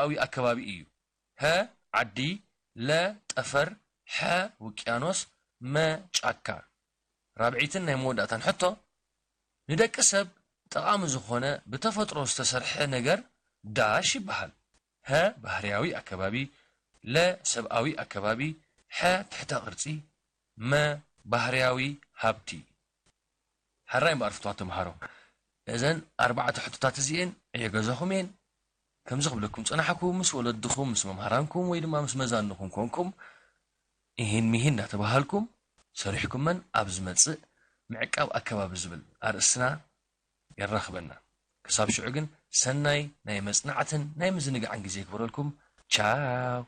ሰብኣዊ ኣከባቢ እዩ። ሀ ዓዲ፣ ለ ጠፈር፣ ሐ ውቅያኖስ፣ መ ጫካ። ራብዒትን ናይ መወዳእታን ሕቶ፣ ንደቂ ሰብ ጠቓሚ ዝኾነ ብተፈጥሮ ዝተሰርሐ ነገር ዳሽ ይበሃል። ሀ ባህርያዊ ኣከባቢ፣ ለ ሰብኣዊ ኣከባቢ፣ ሐ ትሕተ ቅርጺ፣ መ ባህርያዊ ሃብቲ። ሓራይ እምበኣር ፍትዋት ተምሃሮ፣ እዘን ኣርባዕተ ሕቶታት እዚኤን ዕዮ ገዛኹም እየን። ከምዚ ክብለኩም ጸናሕኩ፣ ምስ ወለድኹም፣ ምስ መምሃራንኩም ወይ ድማ ምስ መዛንኹም ኮንኩም፣ ኢሂን ሚሂን እናተባሃልኩም ሰሪሕኩመን ኣብ ዝመጽእ ምዕቃብ ኣከባቢ ዝብል ኣርእስትና የራኽበና። ክሳብ ሽዑ ግን ሰናይ ናይ መጽናዕትን ናይ ምዝንጋዕን ግዜ ይግበረልኩም። ቻው።